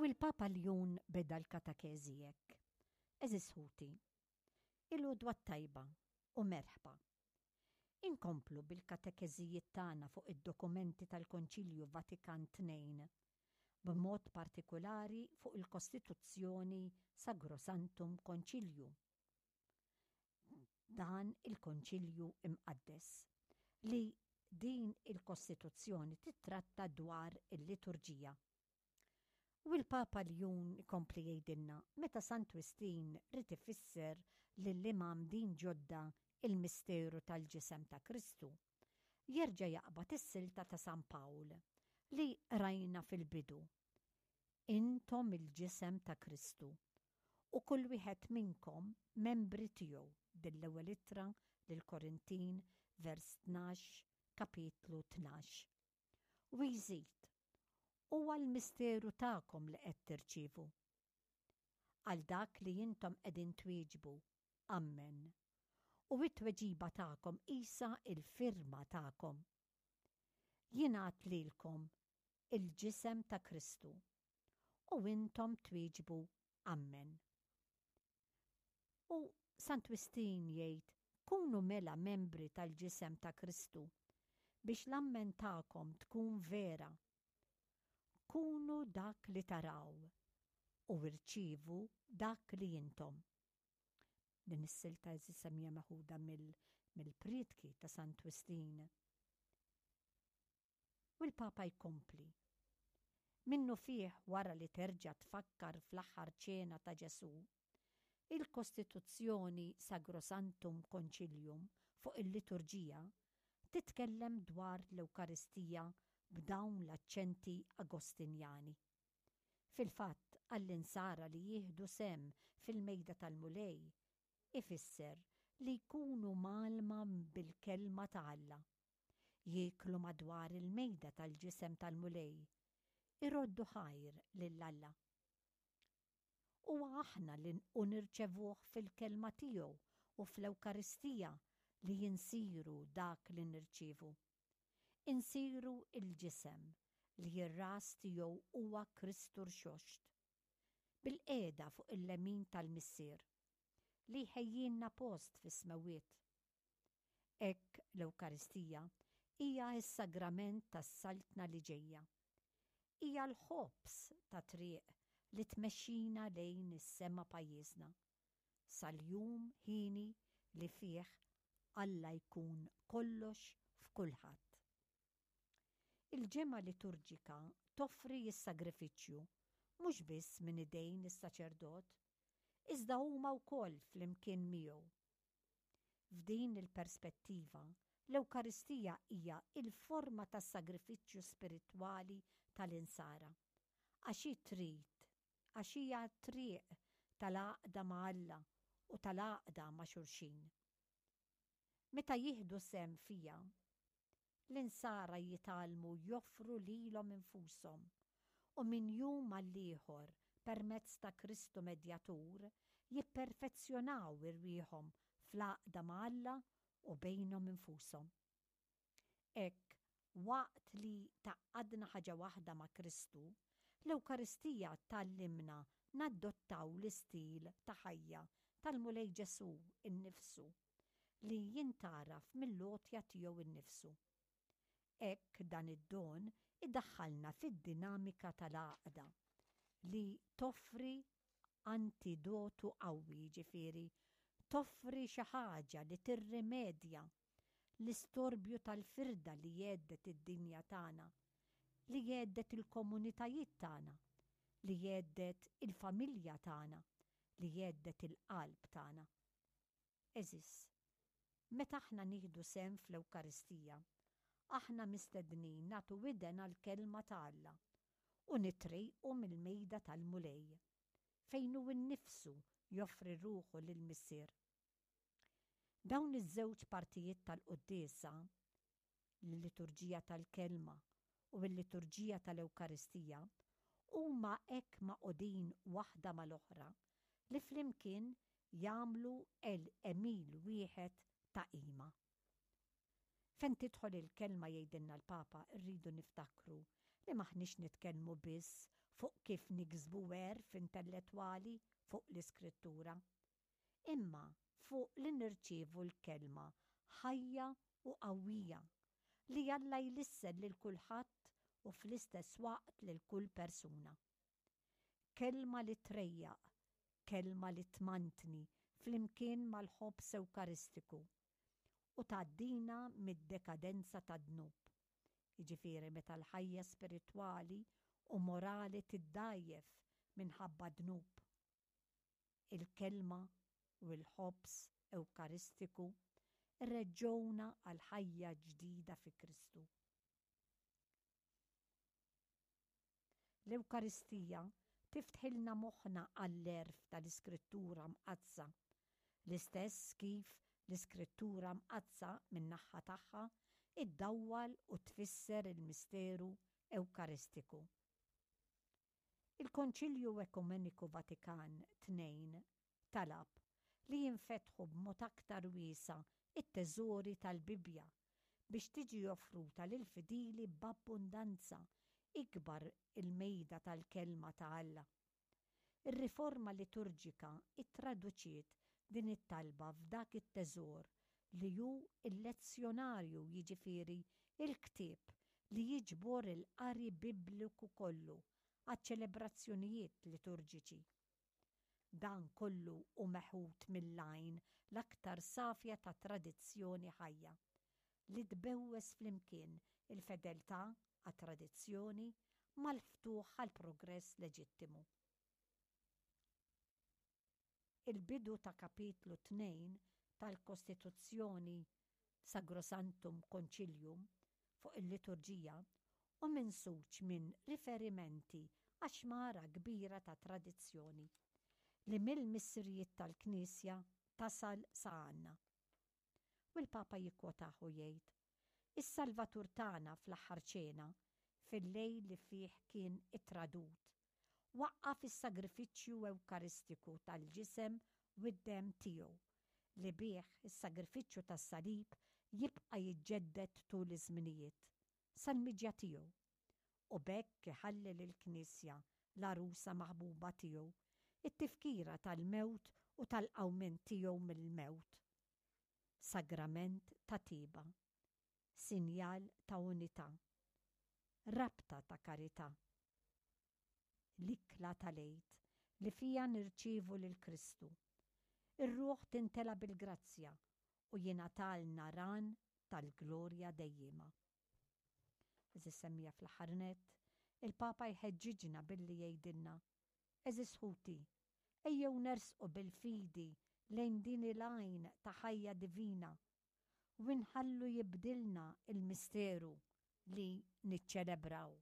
U l-Papa Ljun beda l-katekeżi hekk, Għeżież ħuti, il-għodwa t-tajba u merħba. Inkomplu bil-katekeżijiet tagħna fuq id-dokumenti tal-Konċilju Vatikan II, b'mod partikulari fuq il-Kostituzzjoni Sagrosanctum Concilium. Dan il-Konċilju Imqaddes, li din il-Kostituzzjoni tittratta dwar il-liturġija. U l-Papa Ljun ikompli jgħidilna meta Sant Wistin ried ifisser lill-imgħammdin ġodda il-misteru tal-ġisem ta' Kristu, jerġa' jaqbad is-silta ta' San Pawl li qrajna fil-bidu, Intom il-ġisem ta' Kristu, u kull wieħed minnkom membri tiegħu, din l-Ewwel Ittra lill-Korintin, vers 12, kapitlu 12. U jżid, Huwa l-misteru tagħkom li qed tirċievu. Għal dak li intom qegħdin twieġbu, Ammen. U t-tweġiba tagħkom qisha l-firma tagħkom. Jingħad lilkom il-ġisem ta' Kristu. U intom twieġbu Ammen. U Sant Wistin jgħid, Kunu mela membri tal-ġisem ta' Kristu, biex l-ammen tagħkom tkun vera. Kunu dak li taraw, u irċievu dak li intom. Din is-silta għeżież hija meħuda mill-prietki ta' Sant Wistin. U l-Papa jkompli, Minnufih wara li terġa' tfakkar fl-Aħħar Ċena ta' Ġesù, il-Kostituzzjoni Sagrosanctum Concilium fuq il-Liturġija titkellem dwar l-Ewkaristija b'dawn l-aċċenti Agostinjani. Fil-fatt, għall-Insara li jieħdu sehem fil-Mejda tal-Mulej ifisser li jkunu mgħallma bil-Kelma ta' Alla. Jieklu madwar il-mejda tal-ġisem tal-Mulej, iroddu ħajr lil Alla. Huwa aħna li u nirċevuh fil-Kelma tiegħu u fl-Ewkaristija li insiru dak li nirċievu. Insiru l-ġisem li r-ras tiegħu huwa Kristu Rxoxt, bilqiegħda fuq il-lemin tal-Missier, li jħejjilna post fis-smewwiet. Hekk l-Ewkaristija hija s-sagrament tas-Saltna li ġejja. Hija l-ħobż tat-triq li tmexxina lejn is-sema pajjiżna, sal-jum hieni li fih Alla jkun kollox f'kulħadd. Il-ġemgħa liturġika toffri s-sagrifiċċju mhux biss minn idejn is-saċerdot, iżda huma wkoll flimkien miegħu. F'din il-perspettiva, l-Ewkaristija hija l-forma tas-sagrifiċċju spiritwali tal-Insara, għax hi trid, għax hija t-triq tal-għaqda ma' Alla u tal-għaqda ma' xulxin. Meta jieħdu sehem fiha, L-Insara jitgħallmu joffru lilhom infushom u minn jum għall-ieħor permezz ta' Kristu Medjatur jipperfezzjonaw irwieħhom fl-għaqda ma' Alla u bejnhom infushom. Hekk, waqt li tgħaqqadna ħaġa waħda ma' Kristu, l-Ewkaristija tgħallimna nadottaw l-istil ta' ħajja tal-Mulej Ġesù nnifsu. li jintgħaraf mill-għotja tiegħu nnifsu. Hekk dan id-don idaħħalna fid-dinamika tal-għaqda li toffri antidotu qawwi, jiġifieri toffri xi ħaġa li tirrimedja l-istorbju tal-firda li jhedded id-dinja tagħna, li jhedded il-komunitajiet tagħna, li jhedded il-familja tagħna, li jhedded il-qalb tagħna. Għeżież, meta aħna nieħdu sehem fl-Ewkaristija, aħna mistednin nagħtu widen għall-Kelma ta' Alla u nitrejqu mill-mejda tal-Mulej, fejn hu nnifsu joffri ruħu lill-Missier. Dawn iż-żewġ partijiet tal-quddiesa, l-liturġija tal-Kelma u l-liturġija tal-Ewkaristija, huma hekk magħqudin waħda mal-oħra li flimkien jagħmlu għemil wieħed ta' qima. Fejn tidħol il-Kelma jgħidilna l-Papa rridu niftakru li m'aħniex nitkellmu biss fuq kif niksbu għerf intellettwali fuq l-Iskrittura, imma fuq li nirċievu l-Kelma ħajja u qawwija li Alla jlissen lil kulħadd u fl-istess waqt lil kull persuna. Kelma li trejjaq, kelma li tmantni flimkien mal-ħobż Ewkaristiku u tgħaddina mid-dekadenza tad-dnub, jiġifieri meta l-ħajja spiritwali u morali tiddgħajjef minħabba d-dnub. Il-Kelma u l-Ħobż Ewkaristiku rreġġgħuna għal ħajja ġdida fi Kristu. L-Ewkaristija tiftħilna moħħna għall-għerf tal-Iskrittura Mqaddsa, l-istess kif l-Iskrittura Mqaddsa min-naħha tagħha iddawwal u tfisser il-misteru Ewkaristiku. Il-Konċilju Ekumeniku Vatikan ii talab li jinfetħu b'mod aktar wiesa' t-teżori tal-Bibbja biex tiġi offruta lill-fidili b'abbundanza ikbar il-mejda tal-Kelma ta' Alla. Ir-riforma liturġika ttraduċiet din it-talba f'dak it-teżor li hu l-lezzjonarju jiġifieri l-ktieb li jiġbor il-qari Bibliku kollu għaċ-ċelebrazzjonijiet liturġiċi. Dan kollu hu meħud mill-għajn l-aktar safja ta' tradizzjoni ħajja, li tbewwes flimkien il-fedeltà għat-tradizzjoni mal-ftuħ għall-progress leġittimu. Il-bidu ta' kapitlu 2 tal-Kostituzzjoni Sagrosanctum Concilium fuq il-liturġija hu minsuġ minn riferimenti għax-xmara kbira ta' tradizzjoni li mill-missirijiet tal-Knisja tasal sa għandna. U l-Papa jikkwotah u jgħid, Is-Salvatur tagħna fl-Aħħar Ċena, fil-lejl li fih kien ittradut, waqqaf is-sagrifiċċju Ewkaristiku tal-Ġisem u d-Demm tiegħu, li bih is-sagrifiċċju tas-Salib jibqa' jiġġedded tul iż-żminijiet, sal-miġja tiegħu, u b'hekk iħalli lill-Knisja, l-għarusa maħbuba tiegħu, it-tifkira tal-mewt u tal-qawmien tiegħu mill-mewt. Sagrament ta' tjieba. Sinjal ta' unità. Rabta ta' karità. L-ikla tal-Għid li fiha nirċievu lil Kristu. Ir-ruħ tintela' bil-grazzja u jingħatalna ran tal-glorja dejjiema. Għeżież semmiegħa fl-aħħar nett, il-Papa jħeġġiġna billi jgħidilna, Għeżież ħuti, ejjew nersqu bil-fidi lejn din il-għajn ta' ħajja divina u nħallu jibdilna l-misteru li niċċelebraw.